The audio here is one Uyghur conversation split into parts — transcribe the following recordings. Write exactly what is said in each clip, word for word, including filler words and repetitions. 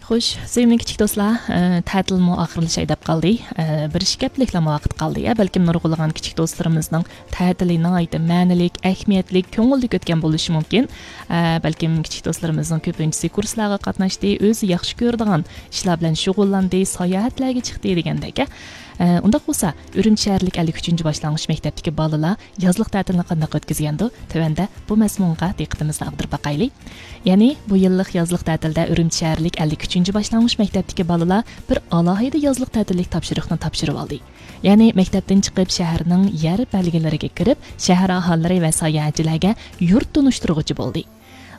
خوش، سۆيۈملۈك كىچىك دوستلار، ئە، تەتىلمۇ ئاخىرلىشاي دەپ قالدى. ئە، بىر ئىككى ھەپتىلىكلەرمۇ ۋاقىت قالدى. ئە، بەلكىم نۇرغۇنلىغان كىچىك دوستلىرىمىزنىڭ تەتىلى ناھايىتى مەنىلىك، ئەھمىيەتلىك، كۆڭۈللۈك ئۆتكەن بولۇشى مۇمكىن. ئە، بەلكىم كىچىك دوستلىرىمىزنىڭ كۆپىنچىسى كۇرسلارغا قاتناشتى، ئۆزى ياخشى كۆرىدىغان ئىشلار بىلەن شۇغۇللاندى، ساياھەتلەرگە چىقتى دېگەندەك. ئە، ئۇنداق بولسا، ئۈرۈمچى شەھەرلىك ئەللىك ئۈچىنچى باشلانغۇچ مەكتەپتىكى بالىلار يازلىق تەتىلنى قانداق ئۆتكۈزگەندۇ؟ تۆۋەندە بۇ مەزمۇنغا دىققىتىمىزنى ئاغدۇرۇپ باقايلى. يەنى بۇ يىللىق يازلىق تەتىلدە ئۈرۈمچى شەھەرلىك ئەللىك ئۈچىنچى باشلانغۇچ مەكتەپتىكى بالىلار بىر ئالاھىدە يازلىق تەتىللىك تاپشۇرۇقنى تاپشۇرۇۋالدى. يەنى مەكتەپتىن چىقىپ شەھەرنىڭ يەر بەلگىلىرىگە كىرىپ، شەھەر ئاھالىلىرى ۋە ساياھەتچىلەرگە يۇرت تونۇشتۇرغۇچى بولدى.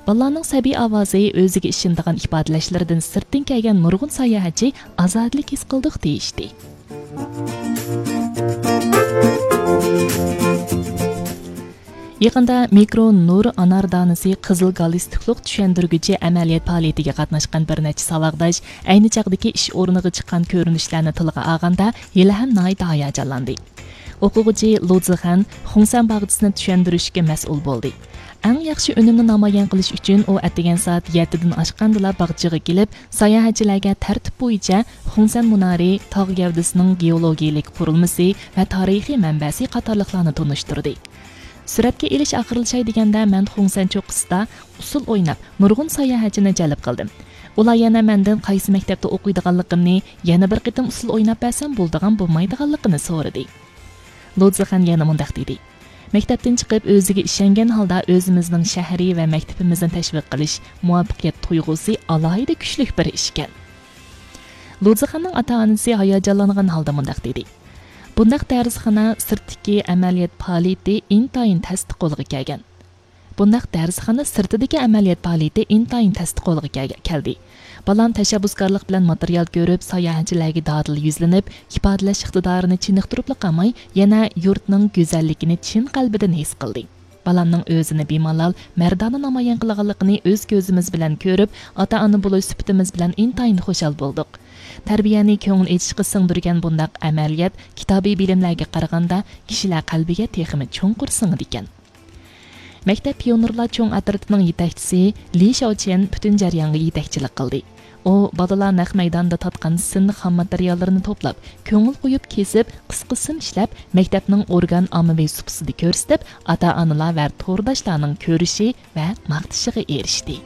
بالىلارنىڭ سەبىي ئاۋازى، ئۆزىگە ئىشىنىدىغان ئىپادىلەشلىرىدىن سىرتتىن كەلگەن نۇرغۇن ساياھەتچى ئازادىلىك ھېس قىلدۇق دېيىشتى. يېقىندا مىكرو نۇر ئانار دانىسى قىزىل گالىستۇكلۇق چۈشەندۈرگۈچى ئەمەلىيەت پائالىيىتىگە قاتناشقان بىر نەچچە ساۋاقداش ئەينى چاغدىكى ئىش ئورنىغا چىققان كۆرۈنۈشلەرنى تىلغا ئالغاندا، ھېلىھەم ناھايىتى ھاياجانلاندى. ئوقۇغۇچى لۇ زىخەن خۇڭسەن باغچىسىنى چۈشەندۈرۈشكە مەسئۇل بولدى. ئەڭ ياخشى ئۈنۈمنى نامايان قىلىش ئۈچۈن ئۇ ئەتىگەن سائەت يەتتىدىن ئاشقاندىلا باغچىغا كېلىپ، ساياھەتچىلەرگە تەرتىپ بويىچە خۇڭسەن مۇنارى تاغ گەۋدىسىنىڭ گېئولوگىيىلىك قۇرۇلمىسى ۋە تارىخىي مەنبەسى قاتارلىقلارنى تونۇشتۇردى. سۈرەتكە ئېلىش ئاخىرلىشاي دېگەندە، مەن خۇڭسەن چوققىسىدا ئۇسسۇل ئويناپ، نۇرغۇن ساياھەتچىنى جەلپ قىلدىم. ئۇلار يەنە مەندىن قايسى مەكتەپتە ئوقۇيدىغانلىقىمنى، يەنە بىر قېتىم ئۇسسۇل ئويناپ بەرسەم بولىدىغان بولمايدىغانلىقىنى سورىدى. لۇ زىخەن يەنە مۇنداق دېدى: مەكتەپتىن چىقىپ، ئۆزىگە ئىشەنگەن ھالدا ئۆزىمىزنىڭ شەھىرى ۋە مەكتىپىمىزنى تەشۋىق قىلىش مۇۋەپپەقىيەت تۇيغۇسى ئالاھىدە كۈچلۈك بىر ئىشكەن. لۇ زىخەننىڭ ئاتا-ئانىسى ھاياجانلانغان ھالدا مۇنداق دېدى: بۇنداق دەرسخانا سىرتتىكى ئەمەلىيەت پائالىيىتى ئىنتايىن تەستە قولغا كەلگەن. بۇنداق دەرسخانا سىرتىدىكى ئەمەلىيەت پائالىيىتى ئىنتايىن تەستە قولغا كەلگە-، كەلدى. بالام تەشەببۇسكارلىق بىلەن ماتېرىيال كۆرۈپ، ساياھەتچىلەرگە دادىل يۈزلىنىپ، ئىپادىلەش ئىقتىدارىنى چېنىقتۇرۇپلا قالماي، يەنە يۇرتنىڭ گۈزەللىكىنى چىن قەلبىدىن ھېس قىلدى. بالامنىڭ ئۆزىنى بىمالال، مەردانە نامايان قىلغانلىقىنى ئۆز كۆزىمىز بىلەن كۆرۈپ، ئاتا-ئانا بولۇش سۈپىتىمىز بىلەن ئىنتايىن خۇشال بولدۇق. تەربىيەنى كۆڭۈل ئېچىشقا سىڭدۈرگەن بۇنداق ئەمەلىيەت كىتابىي بىلىملەرگە قارىغاندا، كىشىلەر قەلبىگە تېخىمۇ چوڭقۇر سىڭىدىكەن. مەكتەپ پىيونېرلار چوڭ ئەترىتىنىڭ يېتەكچىسى لى شياۋچيەن پۈتۈن جەريانغا يېتەكچىلىك قىلدى. ئۇ بالىلار نەق مەيداندا تارتقان سىن خام ماتېرىياللىرىنى توپلاپ، كۆڭۈل قويۇپ كېسىپ، قىسقا سىن ئىشلەپ، مەكتەپنىڭ ئورگان ئاممىۋى سۇپىسىدا كۆرسىتىپ، ئاتا-ئانىلار ۋە تورداشلارنىڭ كۆرۈشى ۋە ماختىشىغا ئېرىشتى.